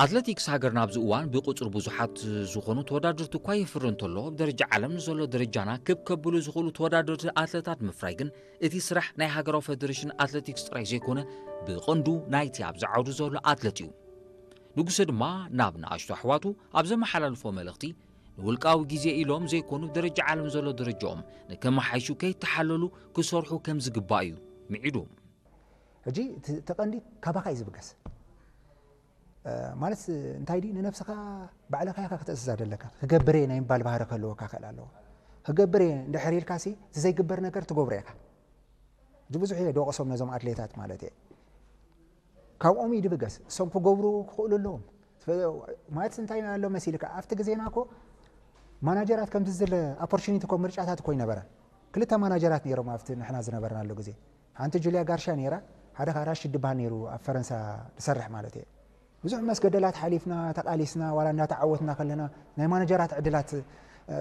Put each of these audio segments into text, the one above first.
ኣትለቲክስ ሃገርና ኣብዚ እዋን ብቁጽሪ ብዙሓት ዝኾኑ ተወዳደርቲ እኳ የፍሪ እንተሎ፣ ኣብ ደረጃ ዓለም ንዘሎ ደረጃና ክብ ከብሉ ዝኽእሉ ተወዳደርቲ ኣትለታት ምፍራይ ግን እቲ ስራሕ ናይ ሃገራዊ ፌደሬሽን ኣትለቲክስ ጥራይ ዘይኮነ፣ ብቐንዱ ናይቲ ኣብዚ ዓውዲ ዘሎ ኣትለት እዩ። ንጉሰ ድማ ናብ ንኣሽቱ ኣሕዋቱ ኣብ ዘመሓላልፎ መልእኽቲ፣ ንውልቃዊ ግዜ ኢሎም ዘይኮኑ ደረጃ ዓለም ዘሎ ደረጃኦም ንከመሓይሹ ከይተሓለሉ ክሰርሑ ከም ዝግባእ እዩ ምዒዱ። ሕጂ እቲ እቲ ቀንዲ ካባኻ እዩ ዝብገስ። ማለት እንታይ ድዩ፣ ንነብስኻ ባዕልኻ ኢኻ ክትእዝዛ ዘለካ። ክገብር እየ ናይ ምባል ባህሪ ክህልወካ ክእል ኣለዎ። ክገብር እየ እንድሕር ኢልካ ሲ እቲ ዘይግበር ነገር ትገብሮ ኢኻ። ሕጂ ብዙሕ እየ ደወቕሶም ነዞም ኣትሌታት ማለት እየ። ካብኦም እዩ ድብገስ። እሶም ክገብሩ ክኽእሉ ኣለዎም። ማለት እንታይ ኣሎ መሲልካ፣ ኣብቲ ግዜና እኮ ማናጀራት ከምዚ ዝለ ኣፖርቹኒቲ እኮ ምርጫታት እኮ ይነበረ። ክልተ ማናጀራት ነይሮም ኣብቲ ንሕና ዝነበርናሉ ግዜ። ሓንቲ ጁልያ ጋርሻ ነይራ፣ ሓደ ከዓ ራሽድ ድበሃል ነይሩ ኣብ ፈረንሳ ዝሰርሕ ማለት እየ። ብዙሕ መስገደላት ሓሊፍና ተቃሊስና ዋላ እንዳተዓወትና ከለና ናይ ማናጀራት ዕድላት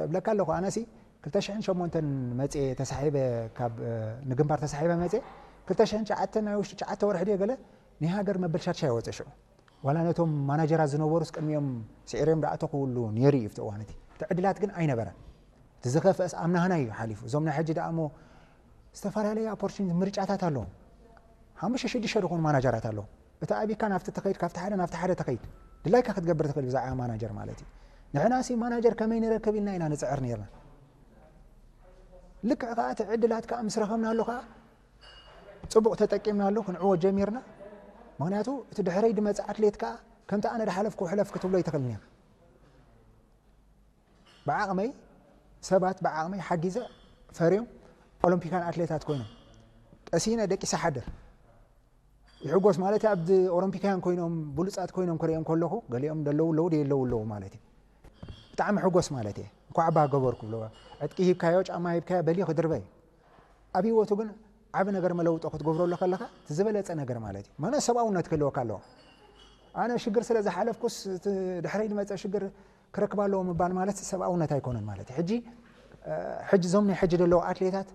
እብለካ ኣለኹ። ኣነሲ ክልተ ሽሕን ሸሞንተን መፅየ ተሳሒበ፣ ካብ ንግንባር ተሳሒበ መፅየ። ክልተ ሽሕን ትሽዓተን ናይ ውሽጢ ትሽዓተ ወርሒ ድየ ገለ ናይ ሃገር መበል ሻድሻይ ወፀ ሽዑ። ዋላ ነቶም ማናጀራት ዝነበሩስ ቅድሚኦም ስዒሮም ደኣ ተኽውሉ ነይሩ እዩ ኣብቲ እዋን እቲ። እቲ ዕድላት ግን ኣይነበረን። እቲ ዝኸፍአስ ኣብ ናህና እዩ ሓሊፉ። እዞም ናይ ሕጂ ደኣ እሞ ዝተፈላለዩ ኣፖርቹኒቲ ምርጫታት ኣለዎም። ሓሙሽተ ሽዱሽተ ዝኾኑ ማናጀራት ኣለዎም። እቲ ኣቢካ ናብቲ ተኸይድ፣ ካብቲ ሓደ ናብቲ ሓደ ተኸይድ። ድላይካ ክትገብር ትኽእል ብዛዕባ ማናጀር ማለት እዩ። ንሕና ሲ ማናጀር ከመይ ንረክብ ኢልና ኢና ንፅዕር ነይርና። ልክዕ ከዓ እቲ ዕድላት ከዓ ምስ ረኸብናሉ ከዓ ፅቡቕ ተጠቂምናሉ ክንዕወት ጀሚርና። ምክንያቱ እቲ ድሕረይ ድመፅእ ኣትሌት ከዓ ከምቲ ኣነ ድሓለፍኩ ሕለፍ ክትብሎ ይትኽእል ነይር። ብዓቕመይ ሰባት ብዓቕመይ ሓጊዘ ፈርዮም ኦሎምፒካን ኣትሌታት ኮይኖም ቀሲነ ደቂሰ ሓድር ይሕጎስ ማለት ኣብ ኦሎምፒካያን ኮይኖም ብሉፃት ኮይኖም ክሪኦም ከለኹ ገሊኦም ደለዉ ኣለዉ ደየለዉ ኣለዉ ማለት እዩ። ብጣዕሚ ሕጎስ ማለት እየ። እንኳዕ ባ ገበርኩ ብሎ ዕጥቂ ሂብካዮ ጫማ ሂብካዮ በሊ ክድርበ እዩ። ኣብ ህይወቱ ግን ዓቢ ነገር መለውጦ ክትገብረሉ ከለኻ እቲ ዝበለፀ ነገር ማለት እዩ። ማለት ሰብኣውነት ክህልወካ ኣለዎ። ኣነ ሽግር ስለ ዝሓለፍኩስ እቲ ድሕረይ ዝመፀ ሽግር ክረክብ ኣለዎ ምባል ማለት ሰብኣውነት ኣይኮነን ማለት እዩ። ሕጂ ሕጂ እዞም ናይ ሕጂ ዘለዉ ኣትሌታት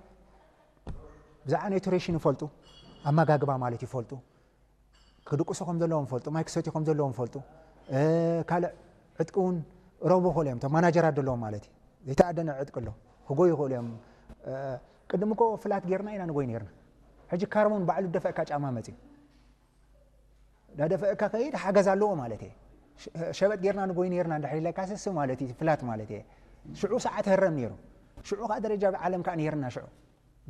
ብዛዕባ ኒውትሪሽን ይፈልጡ፣ ኣመጋግባ ማለት ይፈልጡ፣ ክድቅሱ ከም ዘለዎም ይፈልጡ፣ ማይ ክሰትዩ ከም ዘለዎም ይፈልጡ። ካልእ ዕጥቂ እውን ረቡ ይኽእሉ እዮም። እቶም ማናጀራት ዘለዎም ማለት እዩ። ዘይተኣደነ ዕጥቂ ኣሎ፣ ክጎዩ ይኽእሉ እዮም። ቅድም እኮ ፍላት ጌርና ኢና ንጎይ ነርና። ሕጂ ካርቦን ባዕሉ ደፈእካ ጫማ መፅዩ። ዳደፈእካ ከይድ ሓገዝ ኣለዎ ማለት እየ። ሸበጥ ጌርና ንጎይ ነርና እንድሕር ኢለካ ስስ ማለት እዩ ፍላት ማለት እየ። ሽዑ ሰዓት ህረም ነይሩ። ሽዑ ከዓ ደረጃ ዓለም ከዓ ነርና ሽዑ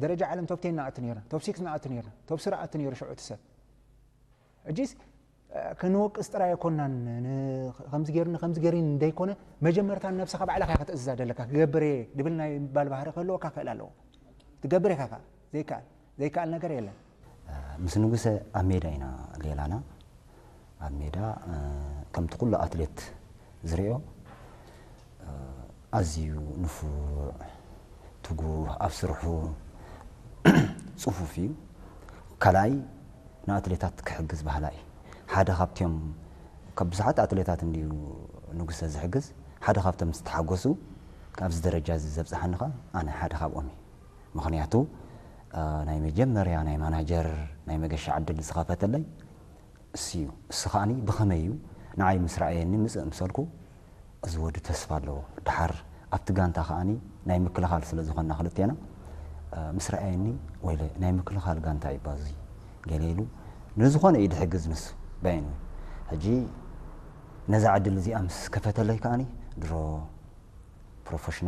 ደረጃ ዓለም ቶፕ ቴን ንኣቱ ነርና፣ ቶፕ ሲክስ ንኣቱ ነርና፣ ቶፕ ስሪ ኣቱ ነይሩ ሽዑ እቲ ሰብ። ሕጂስ ክንወቅስ ጥራይ ኣይኮናን። ከምዚ ገይሩኒ ከምዚ ገይሩኒ እንደይኮነ መጀመርታ ንነብስኻ ባዕልኻ ክትእዝዛ ደለካ። ክገብር እየ ድብል ናይ ምባል ባህሪ ክህልወካ ክእል ኣለዎ። ትገብር ኢኻ ከዓ ዘይከኣል ዘይከኣል ነገር የለን። ምስ ንጉሰ ኣብ ሜዳ ኢና ሌላና። ኣብ ሜዳ ከምቲ ኩሉ ኣትሌት ዝሪኦ ኣዝዩ ንፉዕ፣ ትጉህ፣ ኣብ ስርሑ ፅፉፍ እዩ። ካልኣይ ንኣትሌታት ክሕግዝ ባህላ እዩ። ሓደ ካብቲኦም ካብ ብዙሓት ኣትሌታት እንድዩ ንጉሰ ዝሕግዝ። ሓደ ካብቶም ዝተሓጎሱ ኣብዚ ደረጃ እዚ ዘብፅሓኒ ከዓ ኣነ ሓደ ካብኦም እዩ። ምኽንያቱ ናይ መጀመርያ ናይ ማናጀር ናይ መገሻ ዕድል ዝኸፈተለይ እሱ እዩ። እሱ ከዓኒ ብኸመይ እዩ ንዓይ ምስ ረኣየኒ ምፅእ ምሰልኩ እዚ ወዲ ተስፋ ኣለዎ። ደሓር ኣብቲ ጋንታ ከዓኒ ናይ ምክልኻል ስለ ዝኾንና ክልቴና ምስ ረኣየኒ ወይለ ናይ ምክልኻል ጋንታ እዩ ባዙ ገለ ኢሉ ንዝኾነ እዩ ድሕግዝ ንሱ በይኑ። ሕጂ ነዛ ዕድል እዚኣ ምስ ከፈተለይ ከዓኒ ድሮ ፕሮፌሽናል